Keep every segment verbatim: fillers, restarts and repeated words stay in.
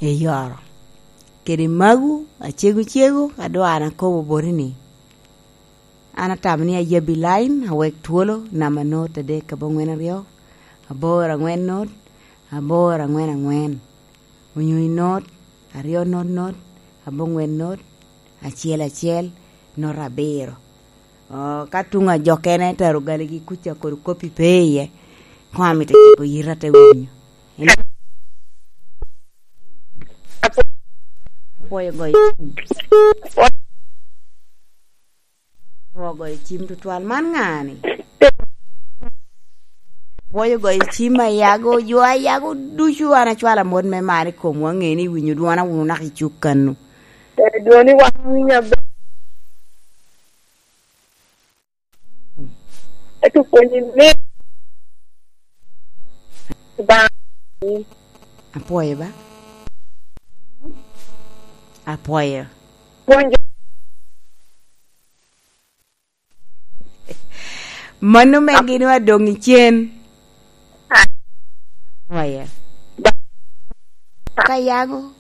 eyoro. Kede magu, acego cego, adwar an akobo boti ni, an atamo ni ayabbi lain, awek twolo, namba not adek aboŋwen aryo, aboro aŋwen not, aboro aŋwen aŋwen, onyo i not, aryo not not, aboŋwen not, acel acel, not abiro. Oo, ka tuŋ ajokkene tero galigi kuca kodi koppi pe iye, koŋ amito cako yita te winyo. Apwoyo goyo cim. Apwoyo goyo cim tutwal. Man ŋa-ni? Apwoyo goyo cim Ayago, jo Ayago ducu an acwalo amot me mar i komwu, aŋeo ni iwinyo dwona wunu naka i cuk kannu. Eh, dwoni wan winyo aber. Ento pwonyi mit. Ba. Apwoyo ba. Apwoyo. Pwonyo. Mano me gin wa doŋ i cen. Apwoyo. Ka yago,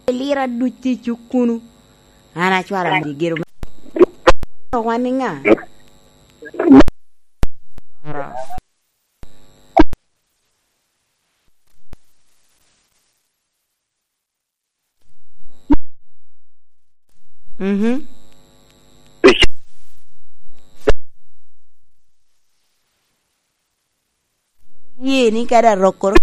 lira duc tye i cuk kunu. An acwalo amot i gero me wan ni ŋa? Mhm. Ye ni kadi arokkoro